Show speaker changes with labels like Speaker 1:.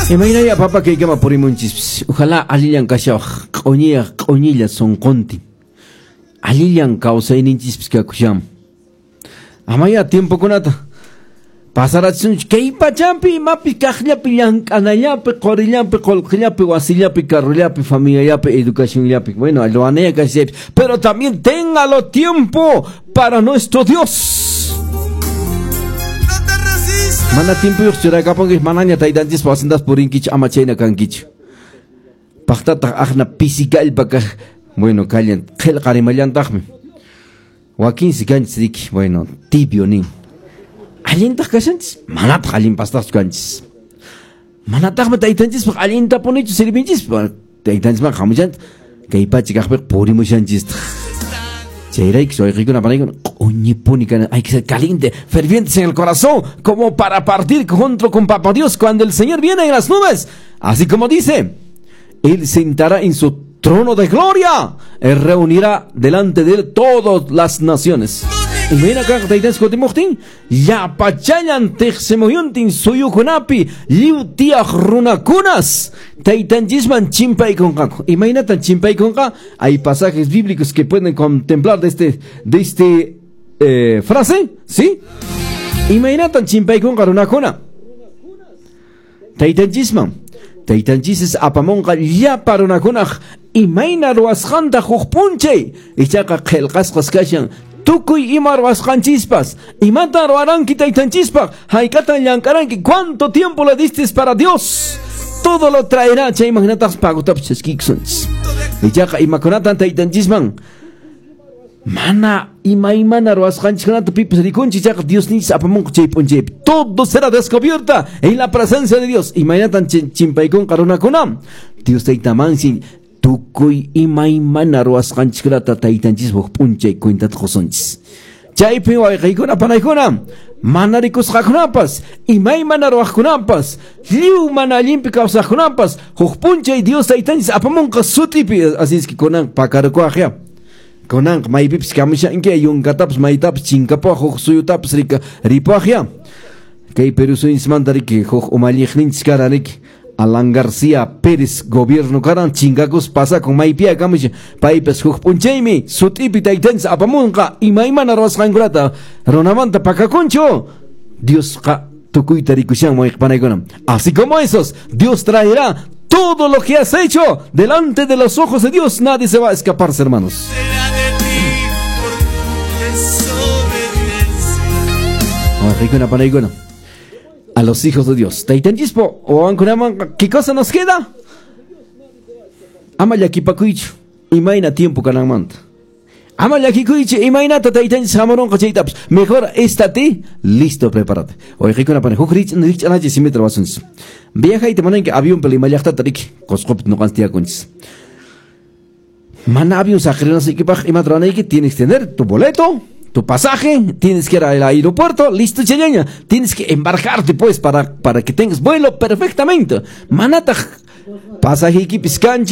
Speaker 1: Imaynaya papa kaykama purimunchis. Ojalá allillan kashawaq q'uñiyaq q'uñilla sunquntin. Allillan kawsayninchispis kakushan. Amaya tiempokunata pasarachisunchu kay pachampi imapi kaqllapi llank'anallapi qurillapi qullqillapi wasillapi carrollapi familiallapi educacionllapi. Bueno, ruwanaya kashaypi, pero también téngalo tiempo para nuestro Dios.
Speaker 2: No te resistas.
Speaker 1: Mana tiempoyuq churakapunki manaña taytanchispa wasintas purinkichu ama chayna kankichu. Paqtataq aqna pisi kallpa kaq, bueno, kallan qillqarimallantaqmi. Wakinsi kanchis riki, bueno, tibio nin. Allintaq kashanchis, manataq allinpastaqchu kanchis. Manataqmi taytanchispaq allintapunichu sirvinchis, taytanchisman hamushanchis, kay pacha kaqpiqa purimushanchistaq. Chayrayku wayqiykuna panaykuna q'uñipuni kana, hay que ser caliente, fervientes en el corazón, como para partir junto con Papá Dios cuando el Señor viene en las nubes. Así como dice, Él sentará en su trono de gloria, Él reunirá delante de Él todas las naciones. Imayna kaq taytanchis kutimuqtin, llapachallan tiqsimuyuntin suyukunapi lliw tiyaq runakunas taytanchisman chimpaykunqaku. Imaynatan chimpaykunqa? Hay pasajes bíblicos que pueden contemplar de este frase, ¿sí? Imaynatan chimpaykunqa runakuna? Taytanchisman. Taytanchis apamunqa llapa runakunaq imayna ruwasqanta huk p'unchay. Ichaqa qillqasqas kashan tukuy ima ruwasqanchispas. Imatan ruwaranki taytanchispaq? Hayk'atan llank'aranki? ¿Cuánto tiempo le diste para Dios? Todo lo traerá. Chayman hinataq pagutapas chaskiykusunchis. Ichaqa imakunatan taytanchisman mana imaymana ruwasqanchiskunata pipas rikunchis, ichaqa Diosninchis apamunqa chay p'unchaypi. Todo será descubierta en la presencia de Dios. Imaynatan chimpaykunqa runakuna? Dios taytamansi tukuy imaymana ruwasqanchiskunata taytanchispaq p'unchay cuentata qusunchis. Chaypi wayqiykuna panaykuna, mana rikusqakunapas, imaymana ruwaqkunapas, lliw mana allinpi kawsaqkunapas, huk p'unchay Dios taytanchis apamunqa sutipi. Así es que kunan pakarukuwaq ya. Kunanqa maypipis kamushanki, yunkatapas maytapas chinkapuwaq, huk suyutapas rika ripuwaq ya. Kay Perú suyunchismanta riki huk umalliqninchis karan riki Alan García Pérez gobierno karan chinkakus pasakun maypiya kamushan paypas huk p'unchaymi sut'ipi taytanchis apamunqa imaymana ruwasqankunata runamanta pakakunchu. Diosqa tukuyta rikushan wayqipanaykuna. Así como esos, Dios traerá todo lo que has hecho delante de los ojos de Dios. Nadie se va a escaparse, hermanos.
Speaker 2: Será de ti por tu desobediencia.
Speaker 1: Wayqiykuna panaykuna. A los hijos de Dios. Taytanchispo, wawankunaman, ¿qué cosa nos queda? Ama llakipakuychu, imayna tiempo kananmanta. Ama llakikuychu, imaynata taytanchis hamurunqa chaytapas. Mejor estate listo, prepárate. Wayqiykuna pana, huk rikch'anachi simita ruwasunchis. Viajayta munanki avionpi Lima llaqtata riki, Qusqupi ñuqanchis tiyakunchis. Mana avión saqirinaykipaq imata ruwanayki, tienes que tener tu boleto, tu pasaje, tienes que ir al aeropuerto, listo chayaña, tienes que embarcarte pues para que tengas vuelo perfectamente. Manataq pasajeykipis kanchu.